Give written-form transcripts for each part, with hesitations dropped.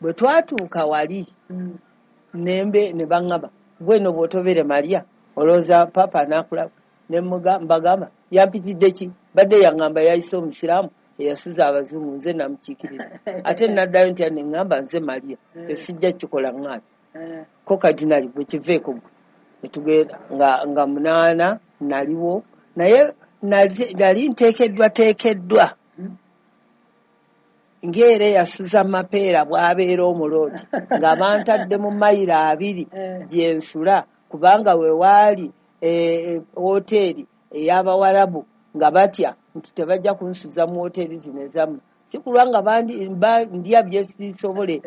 Bwe twatuuka wali, nembe ne baŋŋamba, "Gwe no bw'otobeere Maria, olowooza Papa anaakulaba?" Ne mbagamba, "Yampitidde ki? Badde yaŋŋamba yayise omusiraamu eyasuza abazungu, nze namukiikirira, ate naddayo ntya ne ŋŋamba nze Maria? Esijja kikola." Ŋŋaana ko kadinali, "Gwe kiveeko gwe." Netugenda nga 8 naliwo, naye nali nteekeddwa teekeddwa ng'era eyasuza Mapeera bw'abeera omuloodi, nga bantadde mu mayiro 2 gye nsula, kubanga we waali woteeri ey'Abawarabu, nga batya nti tebajja kunsuza mu woteeri zino ezammwe, si kulwa nga ndya byesiisobole,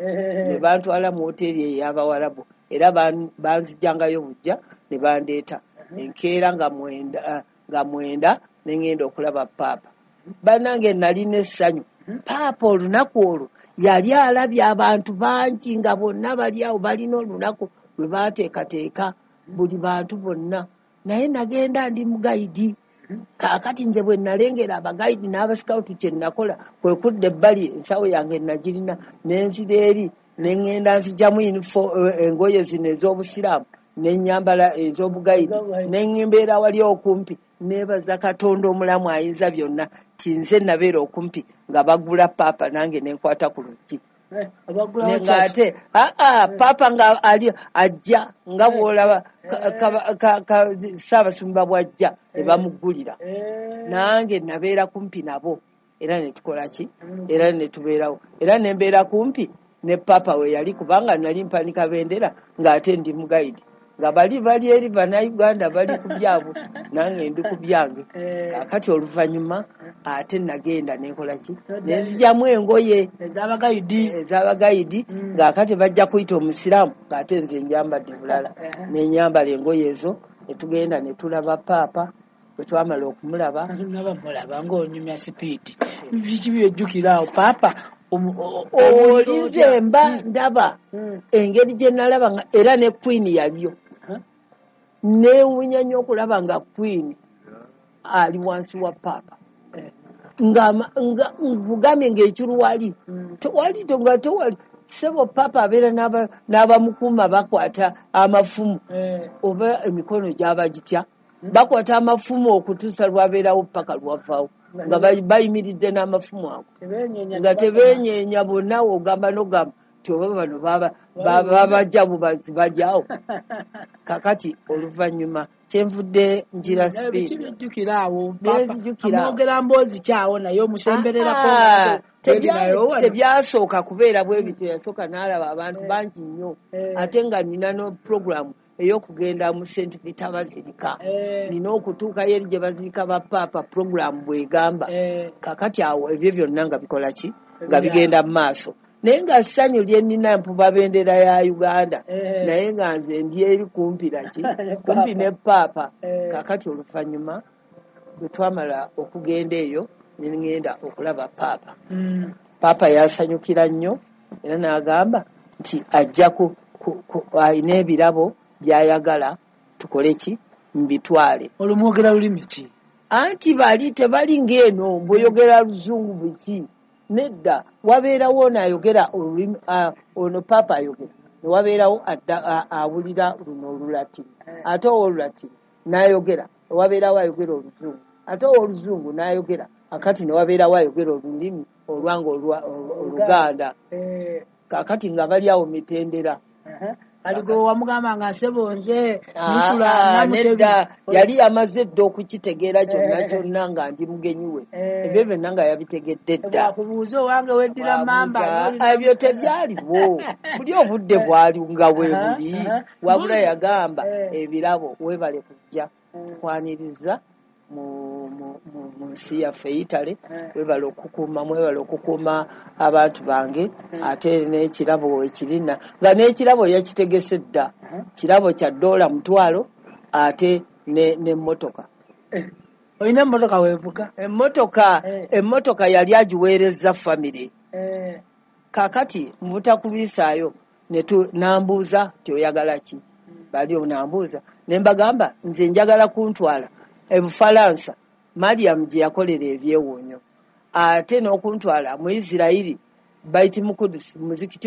ne bantwala mu woteeri ey'Abawarabu. Era banzijangayo bujja ne bandeeta enkeera nga 9 ne ŋŋenda okulaba Paapa. Bannange, nalina essanyu. Paapa olunaku olwo yali alabye abantu bangi nga bonna bali awo, balina olunaku lwe baateekateeka buli bantu bonna, naye nagenda ndi mugayidi. Kaakati nze bwe nalengera abagayidi n'abasikawutu, kye nakola kwe kudda ebbali, ensawo yange nagirina, nenzira eri ne ŋŋenda nzijamu engoye zino ez'obusiraamu ne nyambala ez'obugayidi, ne mbeera wali okumpi. Neebaza Katonda omulamu ayinza byonna ti nze nabeera okumpi nga bagula Paapa, nange nenkwata ku luggi. Ng'ate aa Paapa nga ali ajja, nga bw'olaba Ssaabasumba bw'ajja ne bamuggulira, nange nabeera kumpi nabo. Era ne tukola ki? Era ne tubeerawo, era ne mbeera kumpi ne Paapa we yali, kubanga nali mpanika bendera ng'ate ndi mugayidi, nga bali bali eri Bannayuganda bali ku byabwe, nange ndi ku byange. Kaakati oluvannyuma ate nagenda nenkola ki? Nenzigyamu engoye ez'abagayidi. Ez'abagayidi, ng'akati bajja kuyita omusiraamu, ng'ate nze njambadde bulala. Nenyambala engoye ezo, ne tugenda ne tulaba Paapa. Bwe twamala okumulaba, naba mulaba ng'onyumya speed, biki byojjukira awo Paapa? Oli nze mba ndaba engeri gye nalaba nga era ne Queen yaliyo. Neewuunya nnyo okulaba nga Queen ali wansi wa Paapa, nga nkugambye ng'ekiruwali tewali, nga tewali sebo. Paapa abeera n'abamukuuma, bakwata amafumu, oba emikono gyaba gitya, bakwata amafumu okutuusa lwabeerawo paka lwavaawo, nga bayimiridde n'amafumu ago, nga tebeenyeenya bonna. Ogamba n'ogamba nti oba bano babajja bubazi bajyawo. Kakati oluvannyuma kyenvudde ngira speed. Byojjukira awo? Mwogera mboozi kyawo naye omusembererako? Tebyasooka kubeera bwe bityo. Yasooka n'alaba abantu bangi nnyo, ate nga nina no program ey'okugenda mu St Peter Basilica, nina okutuukayo eri gye bazirika ba Paapa, program bw'egamba. Kakati awo ebyo byonna nga bikola ki? Nga bigenda mu maaso, naye nga ssanyu lye nnina, mpuba bendera ya Uganda, naye nga nze ndi eri kumpi naki? Kumpi ne Paapa. Kakati oluvannyuma bwe twamala okugenda eyo, ne ŋŋenda okulaba Paapa. Paapa yasanyukira nnyo, era n'agamba nti ajja alina ebirabo by'ayagala tukole ki? Mbitwale. Olumwogera lulimi ki? Anti bali tebali ng'eno bw'oyogera luzungu biki, nedda. Wabeerawo ono ayogera olulimi, ono Paapa ayogera, ne wabeerawo awulira luno Olulatini, ate ow'Olulatini n'ayogera, ne wabeerawo ayogera Oluzungu, ate ow'Oluzungu n'ayogera, akati ne wabeerawo ayogera olulimi olwange Oluganda. Kaakati nga bali awo mitendera. Aligo wamugamba nga nsebo nze Nedda, yali yamaze dda okukitegeera kyonna kyonna nga ndi mugenyi we. Ebyo byonna nga yabitegedde dda. Kubuuza owange weddira mamba? Ebyo tebyaliwo, buli obudde bwali nga bwe buli, wabula yagamba, "Ebirabo, weebale kujja tukwaniriza mu nsi yaffe Italy, webale okukuuma, mwebale okukuuma abantu bange, ate n'ekirabo ekirina." Nga n'ekirabo yakitegese dda, kirabo kya $1,000 ate n'emmotoka. Olina emmotoka weevuga? Emmotoka, emmotoka yali agiweereza famire. Kaakati mu butakulwisaayo nambuuza ti, "Oyagala ki?" Bali nambuuza, ne mbagamba, "Nze njagala kuntwala Ebufalansa Mariam gye yakolera ebyewuunyo, ate n'okuntwala mu Isirayiri, Baiti Mukudusi, muzikiti."